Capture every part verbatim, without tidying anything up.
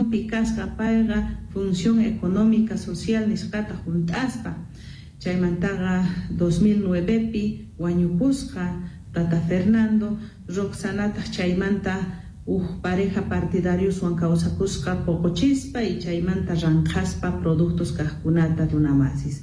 Posicionpi kasqa payqa función económica social nisqata hunt'aspa. Chaymantaqa dos mil nuevepi wañupusqa tata Fernando, Roxanataq chaymanta huk pareja partidarioswan kawsakusqa poqochispa y chaymanta ranqhaspa productos kaqkunata runamasis.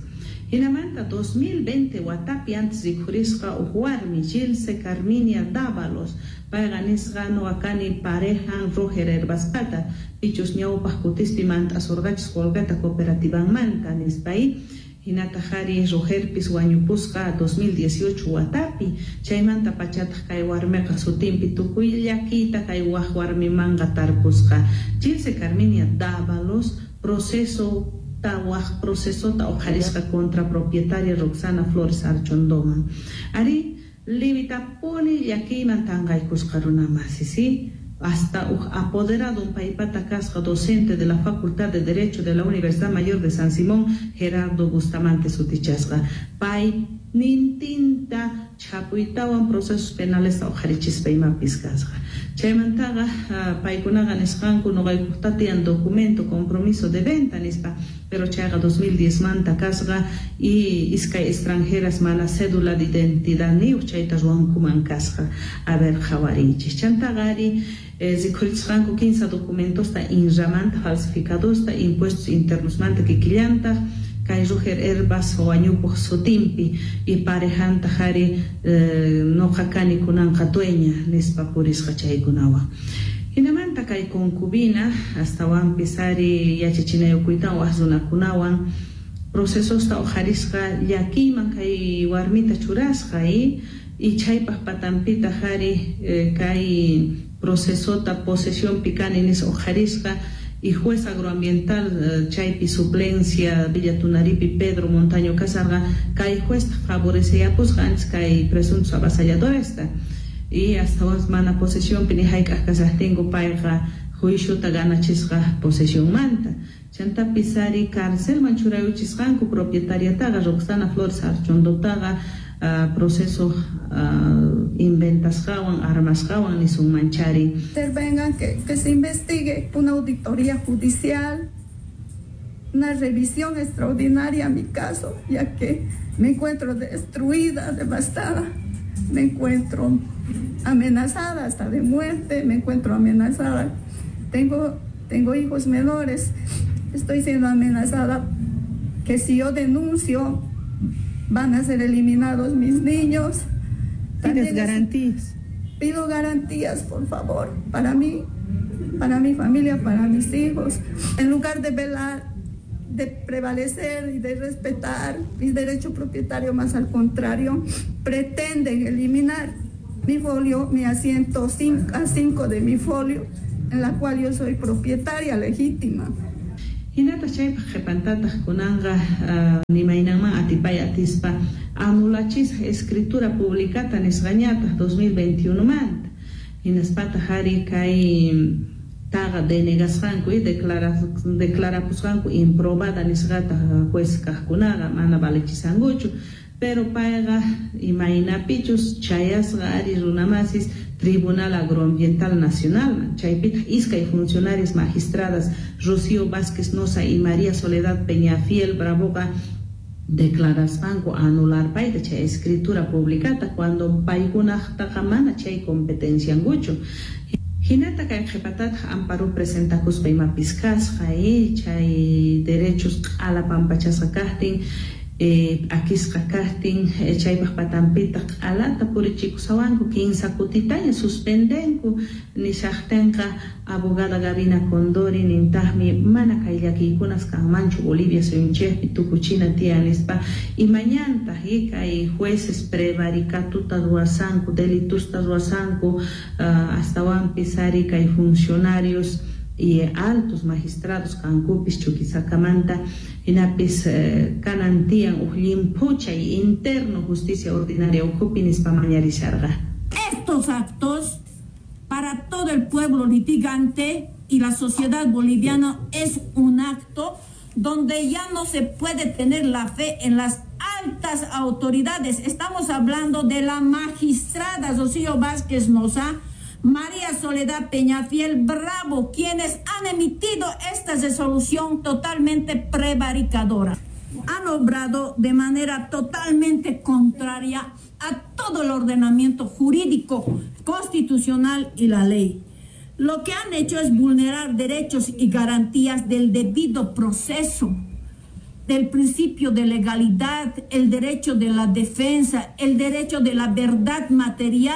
Hinamanta dos mil veinte watapi antes rikhurisqa huk warmi Gilse Carminia Dávalos, payqa nisqa nuqa kani parejan Roger Herbaspata, pichus ñawpaq kutispi mant'asurqachis qullqita cooperativanmanta nispa y hinataq ari Rogerpis wañupusqa dos mil dieciocho watapi, chaymanta pachataq kay warmiqa sutinpi tukuy llakiyta kay waq warmimanqa tarpusqa. Gilse Carminia Dávalos proceso waq procesota uqharisqa contra propietaria Roxana Flores Archondoman. Ari limitapuni llakiyman tanqaykusqa runamasi, ¿sí? Hasta uj apoderado un paypata kasqa docente de la Facultad de Derecho de la Universidad Mayor de San Simón, Gerardo Bustamante sutichasqa. Pay nintinta chapuytawan procesos penales uqharichispa imapis kasqa. Chaymantaqa paykunaqa nisqanku nuqaykuqta tiyan documento compromiso de venta nispa, pero chayqa dos mil diez manta kasqa y iskay extranjeras mana cédula de identidad niyuq chayta ruwankuman kasqa. A ver, qhawarinchis. Chantaqa ari rikhurichisqanku quince documentosta INRAmanta falsificadosta impuestos internosmanta kikillantaq kay Roger Herbas wañupuq sutinpi y parejantaq ari nuqa kani kunanqa dueña nispa purisqa chaykunawan. Hinamanta kay concubina astawanpis ari yachachinayukuytawan waq runakunawan procesosta uqharisqa llakiyman kay warmita churasqa y y chaypaq patanpitaq ari kay procesota posesionpi kani nispa uqharisqa y juez agroambiental chaypi suplencia Villa Tunaripi Pedro Montaño kasarqa kay juez favoreceyapusqa antes kay presuntos avasalladoresta y hasta mana posesionpi ni hayk'aq kasaqtinku payqa juiciota ganachisqa posesionmanta. Chantapis ari carcelman churayuchisqanku propietariataqa Roxana Flores Archondotaqa uh, proceso uh, inventasqawan armasqawan nisunmanchari. Intervengan, que, que se investigue una auditoría judicial, una revisión extraordinaria a mi caso, ya que me encuentro destruida, devastada, me encuentro amenazada hasta de muerte, me encuentro amenazada. Tengo, tengo hijos menores, estoy siendo amenazada que si yo denuncio van a ser eliminados mis niños. ¿Pides garantías? Pido garantías, por favor, para mí, para mi familia, para mis hijos. En lugar de velar, de prevalecer y de respetar mi derecho propietario, más al contrario, pretenden eliminar mi folio, mi asiento A cinco de mi folio, en la cual yo soy propietaria legítima. Hinata chaypaq qhipantataq kunanqa nimaynanman atipay atispa anulachisqa escritura publicata nisqañataq dos mil veintiuno manta. Hinaspataq ari kay taqa denegasqanku y declarapusqanku improbada nisqata juez kaqkunaqa mana valechisankuchu. Pero payqa imaynapichus chayasqa ari runamasis Tribunal Agroambiental Nacional, chaypitaq iskay funcionarios magistradas Rocío Vázquez Noza y María Soledad Peñafiel Bravoqa declarasqanku anular payta chay escritura publicata cuando paykunaqtaqa mana chay competenciankuchu. Hinata kay qhipatataq amparo presentakuspa imapis kasqa y chay derechos q'ala pampachasqa kaqtin Eh, akisqa kaqtin eh, chaypaq patanpitaq q'alata purichikusawanku kinsa kutitaña suspendenku nishaqtinqa abogada Gabina Condori nintaqmi mana kay llakiykunas kanmanchu Bolivia suyunchikpi tukuchina tiyan nispa y mañantaq y kay jueces prevaricatuta ruwasanku delitusta ruwasanku uh, astawanpis ari kay funcionarios y altos magistrados kankupis Chuquisakamanta hinapis eh, kanan tiyan uj llimphuchay interno justicia ordinaria ukhupi nispa mañarisharqa. Estos actos para todo el pueblo litigante y la sociedad boliviana es un acto donde ya no se puede tener la fe en las altas autoridades. Estamos hablando de la magistrada Rocío Vázquez Noza, María Soledad Peñafiel Bravo, quienes han emitido esta resolución totalmente prevaricadora. Han obrado de manera totalmente contraria a todo el ordenamiento jurídico, constitucional y la ley. Lo que han hecho es vulnerar derechos y garantías del debido proceso, del principio de legalidad, el derecho de la defensa, el derecho de la verdad material.